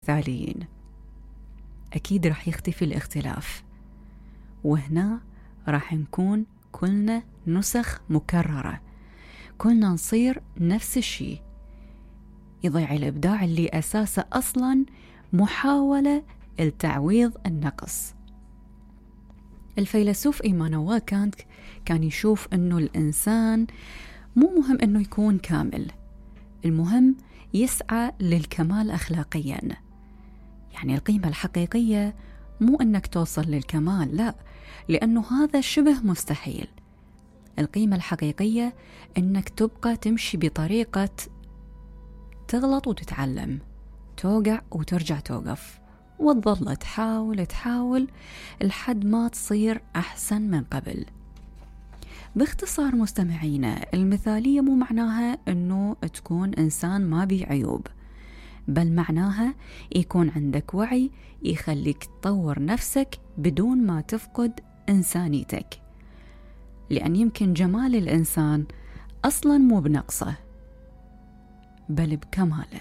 مثاليين أكيد راح يختفي الاختلاف، وهنا راح نكون كلنا نسخ مكررة، كلنا نصير نفس الشيء، يضيع الإبداع اللي أساسه أصلا محاولة لتعويض النقص. الفيلسوف إيمانويل كانت كان يشوف أنه الإنسان مو مهم أنه يكون كامل، المهم يسعى للكمال أخلاقيا. يعني القيمة الحقيقية مو أنك توصل للكمال، لا، لأنه هذا شبه مستحيل. القيمة الحقيقية أنك تبقى تمشي بطريقة تغلط وتتعلم، توقع وترجع توقف، وتظل تحاول لحد ما تصير أحسن من قبل. باختصار مستمعينا، المثالية مو معناها أنه تكون إنسان ما بيه عيوب، بل معناها يكون عندك وعي يخليك تطور نفسك بدون ما تفقد إنسانيتك، لأن يمكن جمال الإنسان أصلا مو بنقصه بل بكماله.